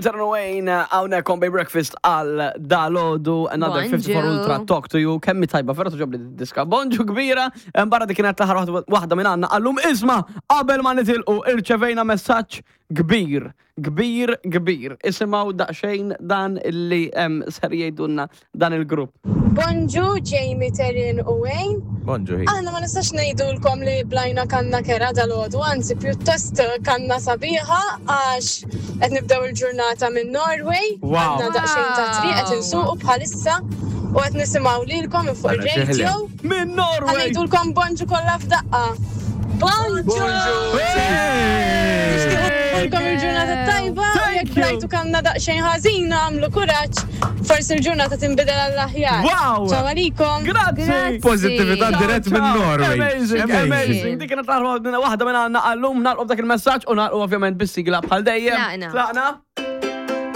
Tarun Wayne, hawnhekk on Bay Breakfast għal dalodu, another Bonġu. 54 Ultra Talk to You, kemmi tajba, vera toġobli diska. Bonġu kbira, em, barra dik kienet l-aħħar waħda- waħda minn għandna għallum isma' qabel ma nitilqu irċevejna messaġġ kbir, kbir, kbir. Isimgħu daqsxejn dan illi em, ser jgħidulna dan il-grupp. Bonġu, Jamie, Terin u Wayne. Bonġu, hi. Aħna ma nistax ngħidulkom li blajna kanna kera dal-għodu, anzi pjuttost kanna sabiħa għax qed nibdew il-ġurnata minn Norway. Wow. Għandna daqsxejn ta' triq qed insuqu bħalissa u qed nisimgħu lilkom minn fuq Għandna xi ir-radio. Minn Norway! Ngħidulkom bonġu kollha f'daqqa. Bonġu! Nixtiequlkom il-ġurnata tajba u Thank jekk you. blajtu kanna daqsxejn ħażina għamlu kuraġġ, forsi l-ġurnata tinbidel għall-aħjar. Wow! Ciao għalikom! Grazzi! Grazzi. Pozittività dirett minn Ciao. Norway. Amazing, amazing. Dik kienet l-aħħar waħda minn għandna għallum nagħlqu b'dak il-messaġġ u nagħlqu ovvjament bis-sigla bħal dejjem. Tlaqna. Tlaqna.